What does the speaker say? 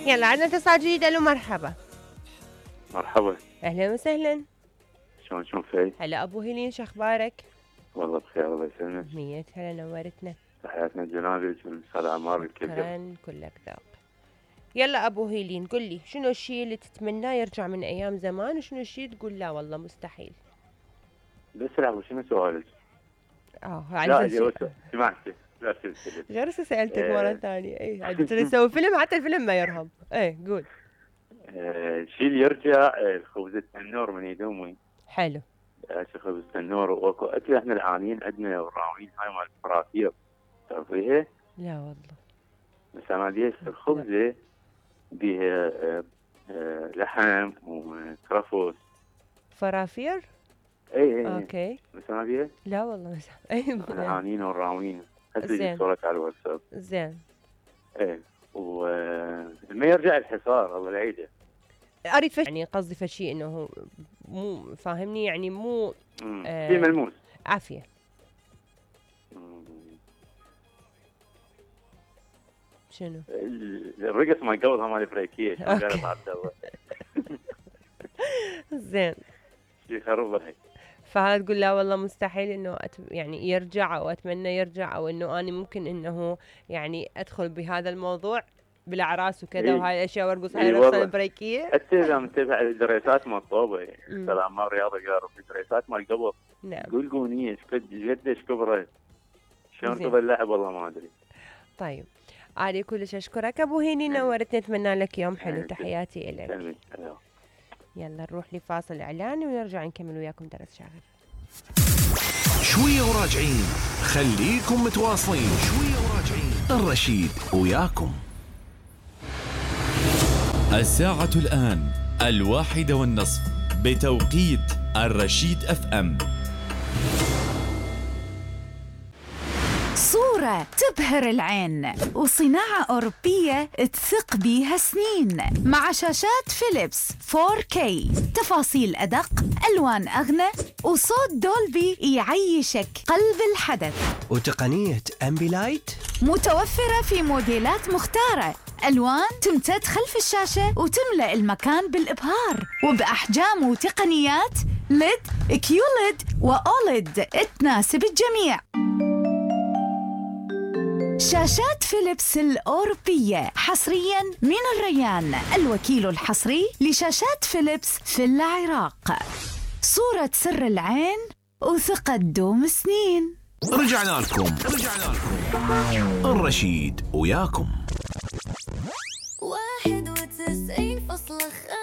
يلا عندنا اتصال جديد. الو مرحبا. مرحبا. اهلا وسهلا. شلون فاي؟ هلا ابو هيلين، شو اخبارك؟ والله بخير الله يسلمك. مية هلا، نورتنا. تحياتنا لجنابك والاستاذ عمار الكل. شكرا، كلك ذوق. يلا ابو هيلين، قل لي شنو الشيء اللي تتمناه يرجع من ايام زمان، وشنو الشيء تقول لا والله مستحيل؟ بس لحظه، شنو سؤالك؟ لا سمعتي. لا غير سألتك مرة ثانية. اي عاد تسوي فيلم، حتى الفيلم ما يرهم. اي قول. الشيء اللي يرجع خبز التنور من يد امي. حلو. خبز التنور، واكو اكل احنا العانيين عندنا وراوين هاي مال الفراتير، تعرفيها؟ لا والله. بس انا ديش الخبزه بيها لحم وكرفس. فرافير؟ اي اوكي. بس انا بيها؟ لا والله ما اي العانيين وراوين. زين. صورك على الواتساب. زين. ايه، وما يرجع الحصار الله العيده. اريد يعني قصدي فشي انه مو فاهمني، يعني مو في ملموس. عافيه. شنو؟ الرقص ما قبلها مال البريكيه شلون قالت عبد الله. زين. شي خرب هيك. فهذا تقول لا والله مستحيل انه يعني يرجع، او اتمنى يرجع، او انه اني ممكن انه يعني ادخل بهذا الموضوع بالاعراس وكذا. إيه؟ وهاي الاشياء وارقص هاي الرقصه البريكيه. حتى اذا متابع الدريسات مال طوبه، سلام ما رياضه قالوا في دريسات مال قبل. نعم. قول قونيه قديش كبرت، شلون تظل اللعب والله ما ادري. طيب علي كلش اشكرك ابو هيني، نورتني. اتمنى لك يوم حلو. تحياتي لك. يلا نروح لفاصل اعلاني ونرجع نكمل وياكم درس شاغر. شويه وراجعين، خليكم متواصلين. شويه وراجعين، الرشيد وياكم. الساعة الآن 1:30 بتوقيت الرشيد FM. صورة تبهر العين وصناعة أوروبية تثق بيها سنين، مع شاشات فيليبس 4K، تفاصيل أدق، ألوان أغنى، وصوت دولبي يعيشك قلب الحدث. وتقنية أمبيلايت متوفرة في موديلات مختارة، ألوان تمتد خلف الشاشة وتملأ المكان بالإبهار، وبأحجام وتقنيات LED، QLED وأوليد تناسب الجميع. شاشات فيليبس الأوروبية حصرياً من الريان، الوكيل الحصري لشاشات فيليبس في العراق. صورة سر العين وثقة دوم سنين. رجعنا لكم. الرشيد وياكم. 91.5